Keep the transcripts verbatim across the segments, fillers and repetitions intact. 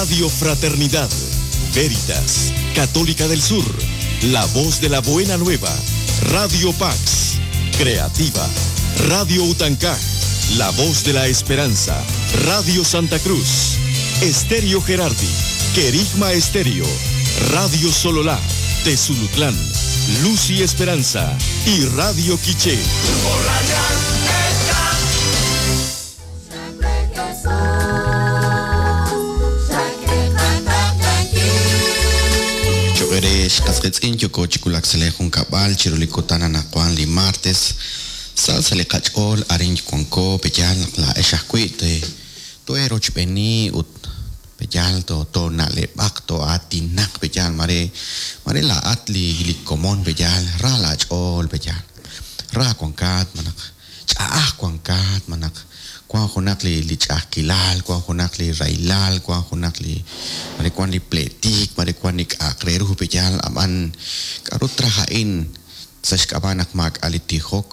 Radio Fraternidad, Veritas, Católica del Sur, La Voz de la Buena Nueva, Radio Pax, Creativa, Radio Utancaj, La Voz de la Esperanza, Radio Santa Cruz, Estéreo Gerardi, Querigma Estéreo, Radio Sololá, Tezulutlán, Luz y Esperanza y Radio Quiché. Xqasqitz'in yoko chikulaksele junkab'al chirulikutana naqwan li martes salsa li qach'ool arin wanko peyal la ex ajwi' te toero chb'eni ut peyal to to na'leb'aq to atinaq peyal mare mare la at li li komon peyal ra la ch'ool peyal ra wankat manaq ch'a'aj wankat manaq kwan junaq li li ch'a'ajkilal kwan junaq li railal kwan junaq li mare kwan li pletik mare kwan li k'aqreruj peyal ab'an k'aru traja'in sa' xk'ab'a' naq maak'a li tijok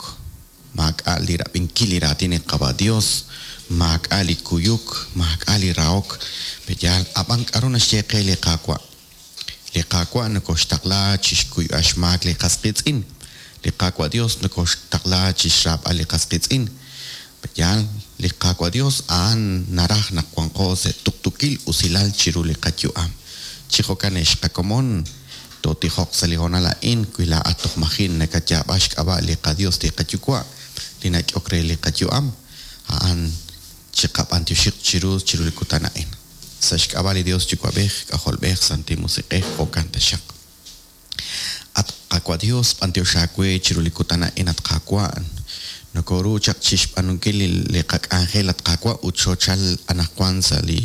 maak'a li rab'inkil li raatin li Qaba Dios maak'a li kuyuk maak'a li rahok peyal ab'an k'aru naxye qe li Qaawa' li Qaawa' nokoxtaqla chixkuyb'al xmaak li qasqitz'in li Qaawa' Dios nokoxtaqla chixraab'al li qasqitz'in peyal li Qaawa' Dios a'an naraj naq wanqo sa' tuktukil usilal chiru li qayu'am chi jo'kan xqakomon totijoq sa' li hoonal a'in wi laa'at toj majin nakayaab'a xk'ab'a' li qaDios li qayuwa' li nak'ok re li qayu'am a'an chiqab'antioxiq chiru chiru li kutan a'in sa' xk'ab'a' li Dios Yuwa'b'ej K'ajolb'ej Santil Musiq'ej jo'kan taxaq at Qaawa' Dios b'antioxaawe chiru li kutan a'in at Qaawa' nokoru chaq chixb'anunkil li qak'anjel at Qaawa' ut xochal anaqwan sa' li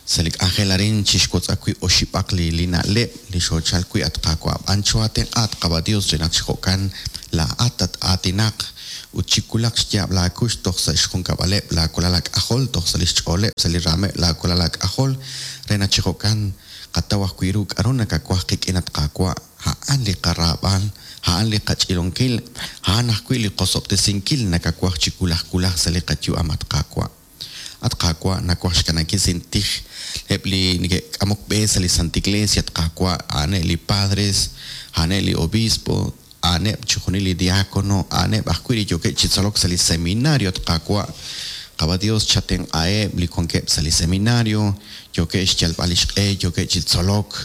sa' li k'anjel arin chixwotz'aq wi' oxib'aq li li na'leb' li xochal wi' at Qaawa' b'an choatenq'a at Qaba Dios re naq chi jo'kan laa'at at aatinaq ut chikulaq xyaab' laakux toj sa' xjunkab'aleb' laakulal ak'ajol toj sa' li xch'ooleb' sa' li raameb' laakulal ak'ajol re naq chi jo'kan qataw ajwi' ru k'aru nakawaj qik'in at Qaawa' a'an li qaraab'al a'an li qach'ilonkil a'an ajwi' li qosob'tesinkil nakawaj chi kulaj kulaj sa' li qayu'am at Qaawa' at Qaawa' nawaj xkanankil sintij eb' li neke'k'amok b'e sa' li Santa Iglesia at Qaawa' a'aneb' li padres a'aneb' li obispo a'aneb' chixjunil li diácono a'aneb' ajwi' li yookeb' chi tzolok sa' li seminario at Qaawa' Qaba Dios chatenq'aheb' li wankeb' sa' li seminario yookeb' xyalb'al li xq'e yookeb' chi tzolok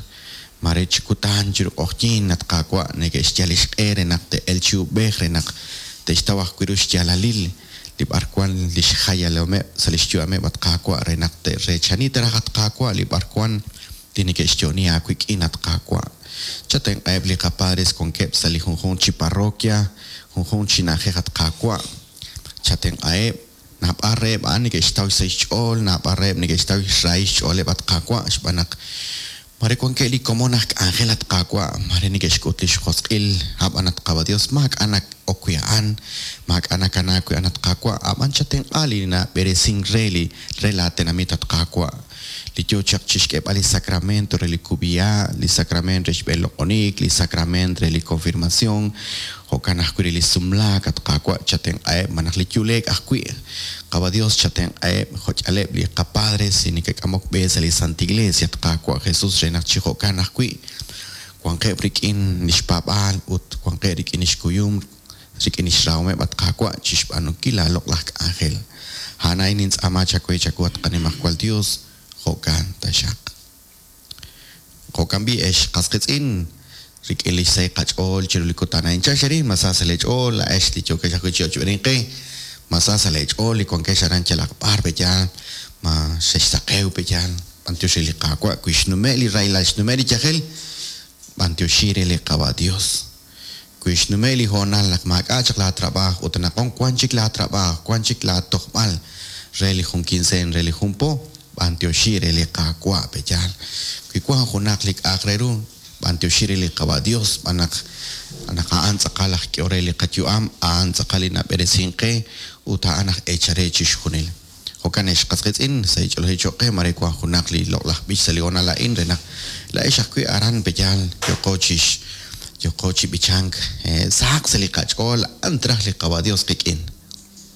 mare chi kutan chiru q'oqyink at Qaawa' neke'xyal li xq'e re naq te'el chi ub'ej re naq te'xtaw ajwi' ru xyaalalil li b'arwan li xjayalomeb' sa' li xyu'ameb' at Qaawa' re naq te'reechani taraj at Qaawa' li b'arwan li neke'xyo'ni aawik'in at Qaawa' chatenq'aheb' li qapadres wankeb' sa' li junjunq chi parroquia junjunq chi na'ajej at Qaawa' chatenq'aheb' naab'al reheb' a'an neke'xtaw sa' xch'ool naab'al reheb' neke'xtaw xrahil xch'ooleb' at Qaawa' xb'aan naq mare wankeb' li komon aj k'anjel at Qaawa' mare neke'xk'ut li xjosq'il ab'an at Qaba Dios maak'a' nak ok wi' a'an maak'a' nakanaak wi' a'an at Qaawa' ab'an chatenq'a li nab'eresink re li re laatenamit at Qaawa' li yoo chaq chixk'eeb'al li sacramento re li kub'iha' li sacramento re xb'eloq'onik li sacramento re li confirmación jo'kan ajwi' re li sumlaak at Qaawa' chatenq'aheb' malaj li yuleek ajwi' Qaba Dios chatenq'aheb' jo'ch'aleb' li qapadres li neke'k'amok b'e sa' li Santa Iglesia at Qaawa' Jesus re naq chi jo'kan ajwi' wanqeb' rik'in li xpaab'aal ut wanqeb' rik'in li xkuyum rik'in li xrahomeb' at Qaawa' chixb'aanunkil laaloq'laj k'anjel a'an a'in nintz'aama chawe chawu at qanimajwal Dios jo'kan taxaq jo'kan b'i ex qasqitz'in rik'in li xsahil qach'ool chiru li kutan a'in chaxerin masa sa' leech'ool la'ex li yookex ajwi' chi ochb'eninqe masa sa' leech'ool li wankex aran yalaq b'ar peyal ma xexsaqew peyal b'antiox re li Qaawa' wi xnume' li rahilal xnume' li yajel b'antioxi re li Qaba Dios wi xnume' li hoonal naq maak'a' chaq laatrab'aaj ut naq wan chik laatrab'aaj wan chik laatojb'al re li jun quincen re li jun po b'antioxi re li Qaawa' peyal wi wan junaq li k'a'aq re ru b'antioxi re li Qaba Dios b'an naq naq a'an tz'aqal aj k'ehol re li qayu'am a'an tz'aqal li nab'eresink qe ut a'an aj eechare chixjunil jo'kan ex qasqitz'in sa' ich'olojil cho'q qe mare wan junaq li loq'laj b'ich sa' li hoonal a'in re naq la'ex ajwi' aran peyal yoqo chix yoqo chi b'ichank sahaq sa' li qach'ool a'an traj li Qaba Dios qik'in.